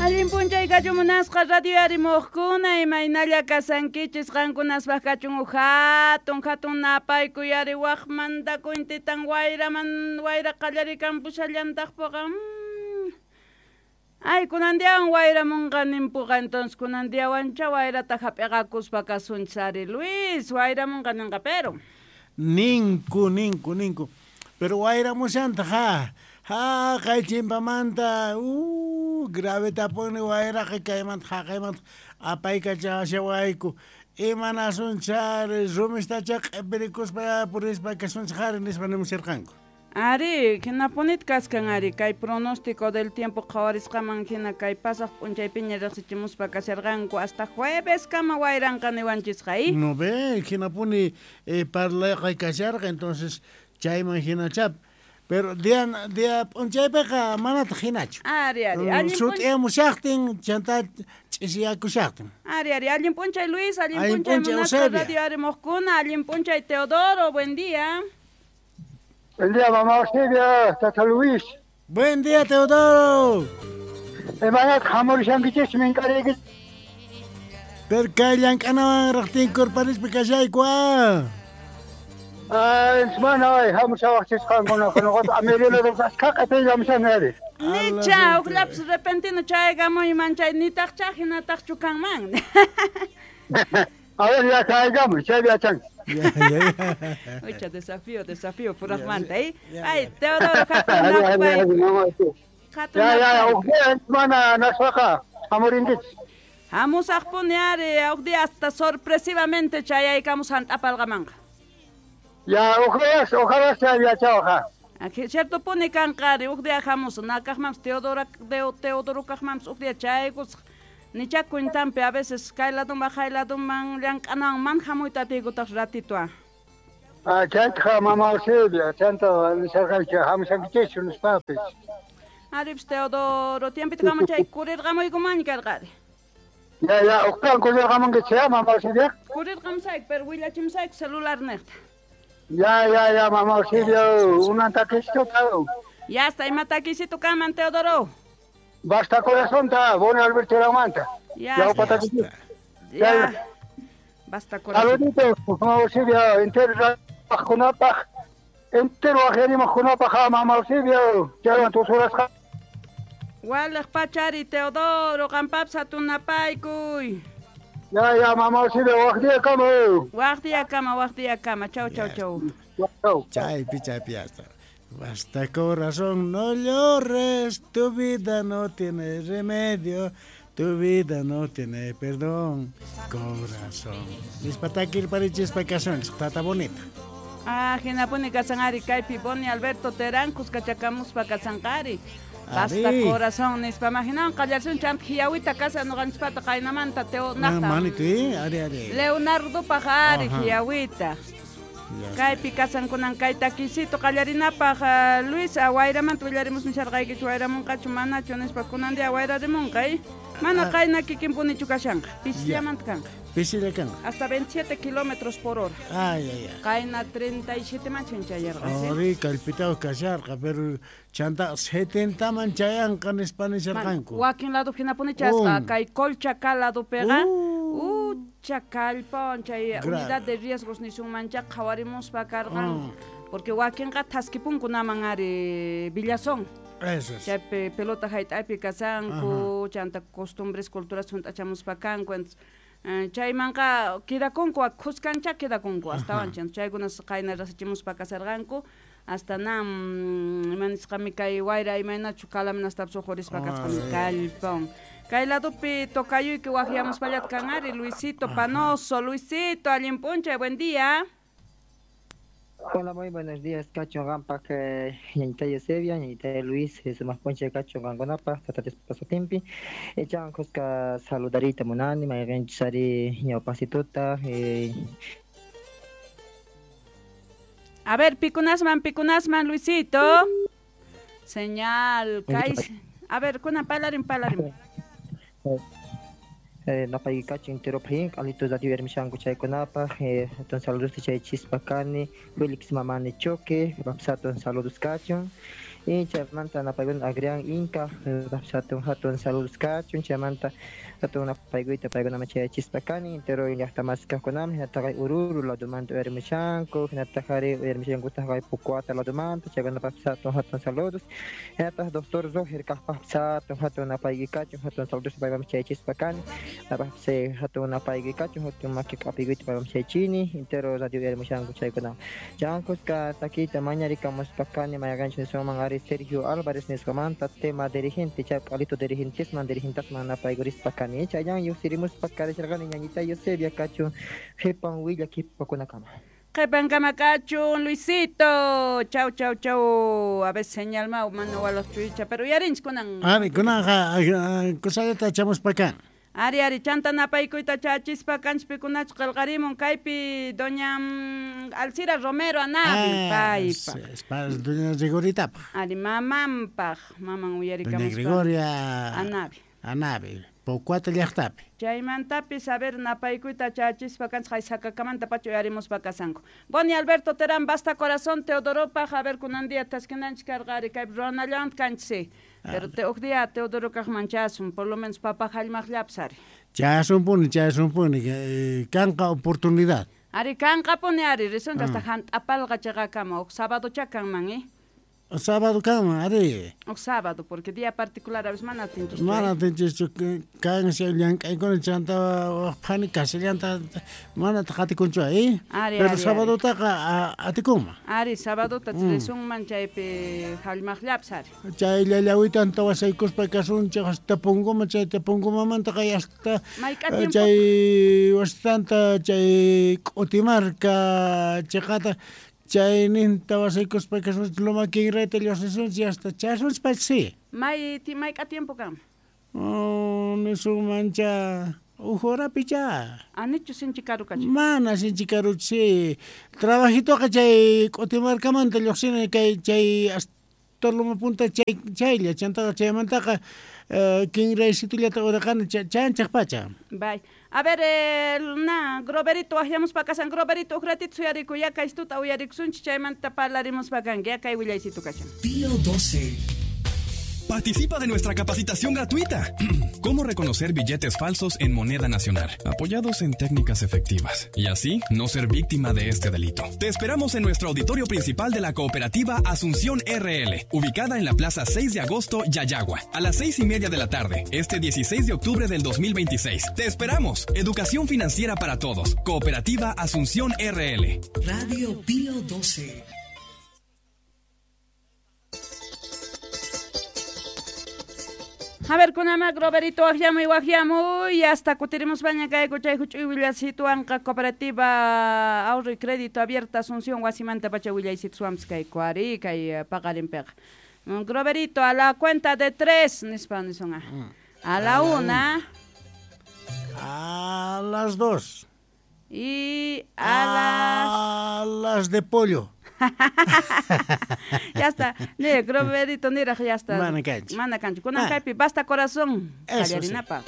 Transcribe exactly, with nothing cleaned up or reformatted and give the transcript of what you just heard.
Allin p'unchay kachumunasqa radio arimuqkuna imaynalla kasankichis qankunaspaq kachun hatun hatun napaykuy ari waqmanta kuntitan wayraman wayra qallarikampushallantaqpuqa. Ay, kunan diawan wayramunqa ninpuqa, entonces kunan diawancha wayrata hap'iqakuspa kasunchis ari Luis, wayramunqa ninqa pero. Ninku, ninku, ninku. Pero wayramushantaq ha. Ha, kay chimpamanta, uh, gravetapuni wayraqa kaymanta haqaymanta apaykachawashawayku. Imanasunchari, rumistacha q'ipirikuspa purispa kasunchis ari nispa nimusharqanku. Ari, hinapunit kaskan ari, kay pronóstico del tiempo qhawarisqaman hina kay pasaq p'unchaypiña riqsichimuspa kasharqanku hasta jueves kama wayranqa niwanchisqa, ¿eh? No ve, hinapuni eh, parlayqa kasharqa, entonces chayman hinachap. Pero día día p'unchaypiqa manataq hinachu. Ari, ari, allin sut'iyamushaqtin chanta ch'isiyakushaqtin. Ari, ari, allin p'unchay Luis, allin p'unchay munasqa radio arimuqkuna, allin p'unchay Teodoro, buen día. Buen día, mamá Eusebia, tata Luis. Buen día, Teodoro. Imanat hamurishankichis minkariyki. Pero kay llank'anawan raqtinkurparispi kashayku ah. Ay, mana ay, hamushawaqchis qankuna, nuqata amirilo askhaq q'ipiyllamushan ari. Nicha, uqllapis repentino chaykamuyman chay nitaqcha hinataqchu kanman. A ver, ya chaykamuy, chaypi yachanki. Ya, ya, ya. Ucha, desafío, desafío, puraqmanta, ¿eh? Ay, Teodoro, hatun napay. Hatun Ya, ya, uq día mana naswaqa hamurinkichis. Hamusaqpuni ari, uq día hasta sorpresivamente chayaykamus hant'apalqamanqa. Ya, ojalá, ojalá sea yachawqa. Cierto puni kanqa ari, uq día hamus, nakaqmanpis Teodoro, Teodoro kaqmanpis uq día chaykusaq. Nicha cuentampi a veces kay laduman hay laduman llank'anawan man hamuyta atiykutaq ratito. Ah, chaytaqa mama Eusebia, chanta nisharqanchik hamushankichischu nispapis. Aripis Teodoro, tiempito kama chay kurirqamuykumanña karqari. Ya, ya, uqtan kurirqamunkichis ya, mama Eusebia. Kurirqamusayku, pero willachimusayku celular niqta. Ya, ya, ya, mama Eusebia, unan takisito. Ya está, ima takisito kaman, Teodoro. Basta corazón, ta, bueno Alberto Ramanta. Ya, ya, ya, ya. Basta corazón. Saluditos, mama Eusebia, entero junapaj, entero ajerimos junapaj, mama Eusebia, ya tus horas. Walej pachari, Teodoro, qampapis hatunapaykuy. Ya, ya, mama Eusebia, waj día kama. Waj día kama, waj día kama, chau, chau, chau. Chau. Chaypi, chaypi, ya está. Basta corazón, no llores, tu vida no tiene remedio, tu vida no tiene perdón, corazón. Nispatakir parichispa kasunchis, tata bonita. Ah, hinapuni kasanari kaypi boni Alberto Terán kuskachakamuspa kasanqari. Basta corazón, nispa imaginan qallarsun chant hiyawita kasa nuqanchispata qaynamanta teo naqta. Manito, eh, ari ari. Leonardo pajari hiyawita. Kaypi kasankunan kay takisito qallarinapaq Luis wayramanta willarimus nisharqaykichu wayramunqachu manachu nispa kunan día wayrarimunqa, eh? Mana qayna kikinpunichu kashanqa, pisillamanta kanqa. Pisilla kanqa. Hasta veintisiete kilómetros por hora. Ay, ay, ay. Qayna treinta y siete man chayarqa. Ari kallpitaw kasharqa, pero chanta setenta man chayanqa nispa nisharqanku. Wakin lado hinapuni chasqa, kay Colchaca ladopiqa. Ucha kallpawan chay unidad de riesgos nisunmancha qhawarimuspa karqan. Porque wakinqa thaskipunkunaman ari Villazón. Eso es. Chaypi pelota hayt'aypi kasanku, chanta costumbres, culturas hunt'achamuspa kanku. Chaymanqa quedakunku, khuskancha quedakunku astawan chaykunas qayna rasichimuspa kasarqanku. Hasta nam ima nisqami kay wayra imaynachu kalaminastapas uqhurispa kasqami kallpawan. Kay ladopi tocayuyki waqyamuspallata kan ari Luisito Panoso. Luisito, allin p'unchay, buen día. Hola, muy buenos días, Cacho Gampak, ñañita Eusebia, ñañita Luis, sumaq p'unchay Cacho qankunapaq, tata Diospa sutinpi. Echan kuska saludarita munani, mayqinchus ari ñawpaqsituta. A ver, pikunasman, pikunasman, Luisito. Señal, kay. A ver, kunan parlarin, parlarin. Napay kacho entero phin, alito radio ermishanku chaykunapaq, entonces saludos chay chispa kani, Félix Mamani Choque, Rapsato saludos cacho. Y chaymanta napaykuna Agrián Inca hatun hatun saludos kachun chaymanta hatun napaykuyta paykunaman chayachispa kani entero llaqtamasi kaqkunaman hinataq Ururu ladumanta uyarimushanku hinataq ari uyarimushankutaq kay Pucuata ladumanta chaykunapaqpis hatun hatun saludos hinataq doctor Roger kaqpaqpis hatun hatun napayki kachun hatun saludos paypaman chayachispa kani napaqpis hatun napayki kachun hatun maki k'apiykuyta paypaman chayachini entero radio uyarimushanku chaykunaman chankusqa takita mañarikamuspa kani mayaqanchis niswanman ari Sergio Álvarez nisqamanta tema dirigente chay p'alito dirigentesman dirigentasman napaykurispa kani chayan lluqsirimuspa karisharqani ñañita Eusebia kachun qhipan willa qhipakunakama. Qhipankama kachun Luisito, chau chau chau, a veces señal mau mana walaq chuycha, pero uyarinchik kunan. Ari kunanqa kusallata chamuspa kan. Ari ari chanta napaykuyta chachispa kanchik pikunachus qillqarimun kaypi doña Alcira Romero Anabi paypaq. Es para doña Gregoritapaq. Ari mamanpaq, maman uyarikamuspa. Doña Gregoria Anabi. Anabi, Pocuata llaqtapi. Chaymantapis a ver napaykuyta chachispa kanchik haysacakamanta pacha uyarimuspa kasanku. Boni Alberto Terán, basta corazón Teodoropaq, a ver kunan día taskinanchik karqa ari kaypi ruwanallanta kanchik sí. Pero te huk día Teodoro kaqman chasun, por lo menos papa hallmaqllapis ari. Chasunpuni, chasunpuni, eh, kanqa oportunidad. Ari kanqapuni ari, risunchik hasta hant'apalqa chaqakama, huk sábado cha kanman, eh? Sábado kanman, ari. Huk sábado, porque día particular a veces mana atinchikchu. Mana atinchikchu, kan llank'aykuna chanta waq phani kasillanta mana qatikunchu, eh? Ari, pero ari, sabadotaqa atikunman. Ari, sabadota risunman chaypi hallmaqllapis ari. Chay llallawitanta wasaykuspa kasunchik hasta Pongoma, chay Pongomamanta kay hasta chay wasitanta chay K'utimarka chiqata chayninta wasaykuspa kasunchik Loma Kinrayta lluqsisunchik hasta chasunchik pacha sí. May mayk'a tiempo kan? Oh, nisunmancha huk horapi cha. Anichu sinchi karu kachun? Mana sinchi karuchu sí. Trabajitoqa chay K'utimarkamanta lluqsini kay chay hasta Loma Punta chay chaylla chantaqa chaymantaqa kinraysitullata uraqani chanchaq pacha. Bay. A ver, eh, na, Groverito, waqyamuspa kasan Groverito, huk ratito suyarikuy, ya kay tuta uyarikusunchik, chaymanta parlarimuspa kanki, ya kay willaysitu kashan. Pío doce. Participa de nuestra capacitación gratuita. Cómo reconocer billetes falsos en moneda nacional, apoyados en técnicas efectivas, y así no ser víctima de este delito. Te esperamos en nuestro auditorio principal de la cooperativa Asunción R L, ubicada en la Plaza seis de Agosto, Yayagua, a las seis y media de la tarde, este dieciséis de octubre del dos mil veintiséis. Te esperamos. Educación financiera para todos. Cooperativa Asunción R L. Radio Pío doce. A ver, kunama Groverito waqyamuy waqyamuy hasta kutirimus baña kayku chay huch'uy willasituwanqa cooperativa ahorro y crédito abierta Asunción wasimanta pacha willaysituswanpis kayku ari kay paqarinpiqa. Groverito, a la cuenta de tres nispa nisunqa. A la una. A las dos. Y a las... A las de pollo. Ya está. Ne, Groverito niraq ya está. Mana kanchu. Mana kanchu. Kunan kaypi basta corazón. Eso sí. Qallarinapaq.